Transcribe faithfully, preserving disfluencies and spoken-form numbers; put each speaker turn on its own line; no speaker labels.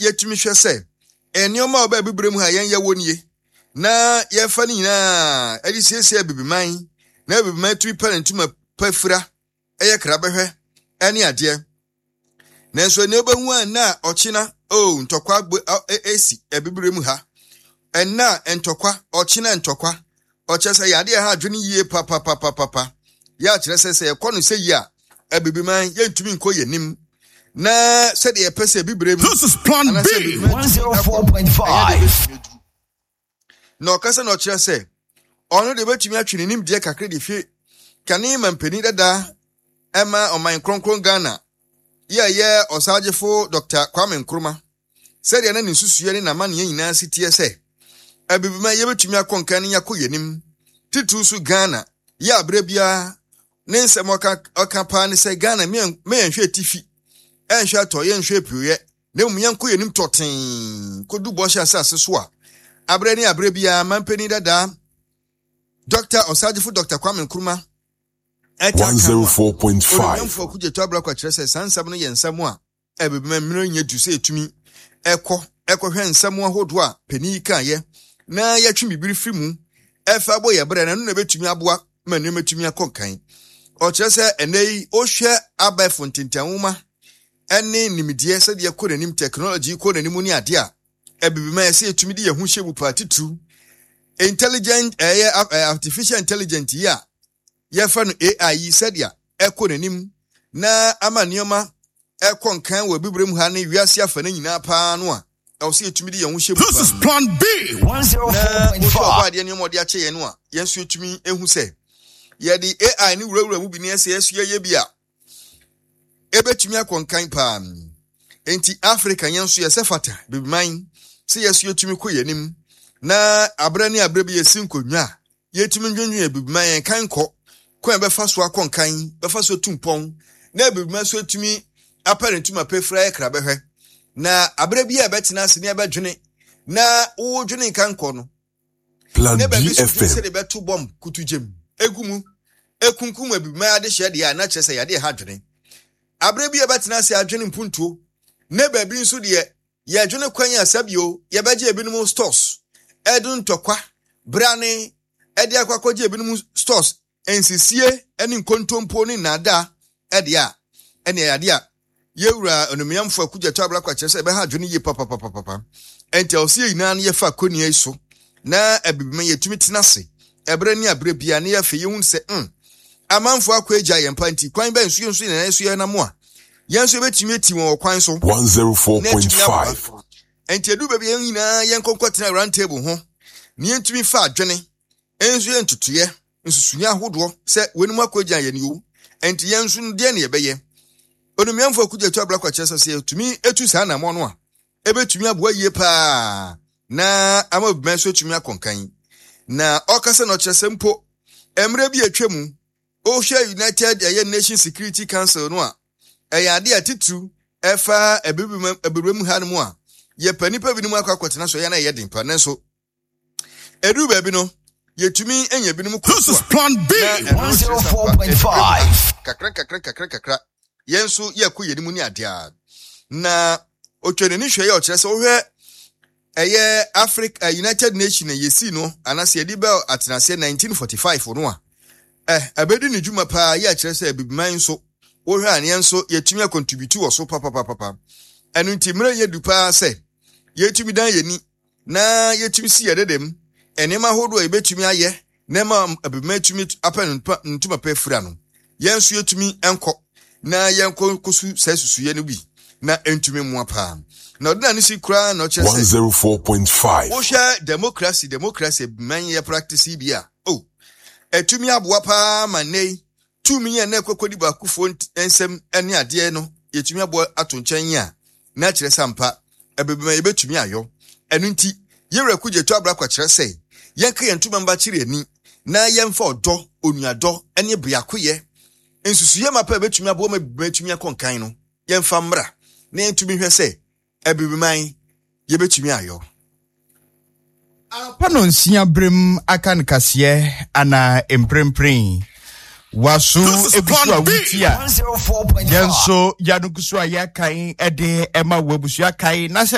yɛtumi hwɛ sɛ nneɛma a ɔbɛ abibire mu ha yɛn yɛ wɔ nie na yɛfa no nyinaa ɛde siesie abibiman na abibiman tumi pɛ ne ntoma pa fira, ɛyɛ krabɛhwɛ ɛne adeɛ. Nanso ɛnna wobɛhu a nna a ɔkyena o ntɔkwa esi abibire mu ha, ɛnna ntɔkwa, ɔkyena ntɔkwa, ɔkyerɛ sɛ yɛade ɛha adwene yie papapapapa. Yɛ akyerɛ sɛ sɛ yɛkɔ no sɛ yie a, abibiman yɛntumi nkɔ yɛn nim na sɛdeɛ yɛpɛ sɛ abibire mu.
This is Plan B
one oh four point five.
Na ɔkasa na ɔkyerɛ sɛ ɔno de bɛtumi atwe ne nimdeɛ kakra de fie kane ma mpanin dada ɛma ɔman kronkron Ghana yɛ ɛyɛ Ɔsagyefo Doctor Kwame Nkrumah, sɛdeɛ na ne nsusuɛ ne n'amanneɛ nyinaa si teɛ sɛ abibima yɛbɛtumi akɔ nkan ne yɛakɔ yɛnim, titiriw so Ghana yɛ aberɛ biara ne nsɛm ɔka ɔka paa ne sɛ Ghana meyɛnhwɛ atifi, ɛnhwɛ atɔ, yɛnhwɛ apueɛ, na mmom yɛnkɔ yɛnim tɔtee kɔdu bɔhyɛ asase so a aberɛ ne aberɛ biara mampanin dadaa Doctor Ɔsagyefo Doctor Kwame Nkrumah
one oh four point five.
Onyamfo Okudzeto Ablakwa kyerɛ sɛ saa nsɛm no yɛ nsɛm a ɛbɛbɛma mmerɛ nyɛ du sɛ ɛtumi ɛkɔ ɛkɔhwɛ nsɛm ahodoɔ a panin yi kaeɛ na yɛtwe bibiri firi mu ɛfa bɔ yɛ berɛ na ɛno na ɛbɛtumi aboa ma nneɛma tumi akɔ nkan. Ɔkyerɛ sɛ ɛnɛ yi wohwɛ abɛɛfo ntentanwoma ɛne nimdeɛ sɛdeɛ kɔ n'anim, technology kɔ n'anim ne adeɛ a ɛbibima yɛ sɛ yɛtumi de yɛn ho hyɛ mu paa, titiriw intelligent ɛyɛ artificial intelligent yi a yɛfrɛ no A I yi, sɛdeɛ ɛkɔ n'anim na ama nneɛma ɛkɔ nkan wɔ abibire mu ha ne wiase afa no nyinaa paa no a ɛwɔ sɛ yɛtumi de yɛn ho hyɛ mu.
This is Plan B
na wohwɛ ɔbɔ
one oh four point five.
Adeɛ nneɛma ɔde akyɛ yɛn no a, yɛn nso yɛtumi ehu sɛ yɛde A I ne wurawura mu bi ne ɛsɛ yɛso yɛyɛ bi a ebɛtumi akɔ nkan paa. Nti Africa yɛn nso yɛsɛ fata bibiman sɛ yɛso yɛtumi kɔ yɛn anim na aberɛ ne aberɛ bi yɛsi nkonnwa a yɛtumi ndwendwen abibiman yɛn kan kɔ kwan bɛfa so akɔ nkan, bɛfa so tu mpɔn na abibiman nso atumi apɛ ne ntoma pɛfira yɛ kra bɛhwɛ. Na aberɛ bi a ɛbɛtena ase ne ɛbɛdwene na wodwene nkan kɔ no
Plan
ne baabi so dwene
B F M.
sɛ de bɛto bɔmb kutu gyem egu mu ekunkum abibiman adehyɛ deɛ a, na kyerɛ sɛ yɛade ha dwene. Aberɛ bi a ɛbɛtena ase adwene mpuntuo ne baabi nso deɛ yɛdwene kwan a sɛbio yɛbɛgye ebinom stores, ɛde ntɔkwa brane ɛde akɔ akɔgye ebinom stores, nsisie ne nkontompo ne nnaadaa ɛde a ɛne ɛyade a yɛwura Onumiamfo Okudzeto Ablakwa kyerɛ sɛ ɛbɛha adwene yie papapapapa. Ɛnti ɛwɔ sɛ yɛn nyinaa no yɛfa akonnwa yi so na abibima yɛtumi tena ase ɛberɛ ne aberɛ bia ne yɛafei yɛhu sɛ mm, amanfoɔ akɔ agya yɛn pa, nti kwan bɛn so yɛn nso yɛn so yɛnam a yɛn nso yɛbɛtumi ati wɔn wɔ kwan so na atumi aboa.
one oh four point five.
Nti edu baabi yɛn nyinaa yɛn nkɔnkɔ tena round table ho na yɛntumi fa adwene nso yɛ ntotoeɛ nsusuiɛ ahodoɔ sɛ wɔn akɔ agya yɛn o, nti yɛn nso no deɛ ne yɛbɛyɛ. Onumiamfo Okudzeto Ablakwa kyerɛ sɛ sɛ yɛtumi etu saa anammɔ no a, ebɛtumi aboa yie paa na ama obìnrin nso atumi akɔ nkan. Na ɔkasa na ɔkyerɛ sɛ mpo mmerɛ bi atwa mu, wohwɛ United ɛyɛ Nation Security Council no a, ɛyɛ ade a titiriw ɛfa abibire mu ha no mu a yɛpɛ nipa binom akɔ akɔtena so, ɛyɛ na ɛyɛ den pa, nanso ɛduru baabi no yɛtumi anya binom kɔ
This
so
is
a
Plan B.
na ɛno kyerɛ sɛ ampa, abibire mu ha,
one oh four point five.
Kakra kakra kakra kakra yɛn nso yɛkɔ yɛn mu ne adeɛ a na otwa n'ani hwɛ yɛ ɔkyerɛ sɛ wohwɛ ɛyɛ Africa United Nation a yɛsii no anaasɛ yɛde bɛl atenaseɛ nineteen forty-five no a ɛ ɛbɛdi ne dwuma paa yɛ akyerɛ sɛ abibiman nso wohwɛ a neɛ nso yɛtumi acontribute wɔ so papapapapa. Ɛno nti mmerɛ yɛ du paa sɛ yɛtumi dan yɛni na yɛtumi si yɛ dedem nneɛma ahodoɔ a yɛbɛtumi ayɛ na ɛma abibiman tumi apɛ ne mpa- ne ntoma pa afira no, yɛn nso yɛtumi nkɔ na yɛnkɔ kɔsu saa susuyɛ no bi na ɛntumi mmoa paa. Na ɔde n'ano si koraa na ɔkyerɛ sɛ
one oh four point five.
wohwɛ democracy democracy man yɛ practice yi bi a o ɛtumi aboa paa ma nnɛ yi tumi yɛn na ɛkɔkɔdi baakofoɔ nt- nsɛm ne adeɛ no yɛtumi aboa ato nkyɛn yi a, na kyerɛ sɛ ampa ɛbɛbɛma yɛbɛtumi ayɔ. Ɛno nti yɛwura Okudzeto Ablakwa kyerɛ sɛ yɛnka yɛn ntoma mba kyerɛ ani na yɛmfa ɔdɔ, onuadɔ ne biakoyɛ nsusuyɛ mapa a ɛbɛtumi aboa ma bɛtumi akɔ nkan no yɛmfa mmra na yɛntumi hwɛ sɛ abibiman yɛbɛtumi ayɔ.
Anɔpa no nsia berem aka no kaseɛ ana mprempren waso
This is
egu so a
Plan B.
wuti a
one oh four point five.
Yɛn nso yɛano gu so a yɛakan de ɛma wɔ abusua kae na sɛ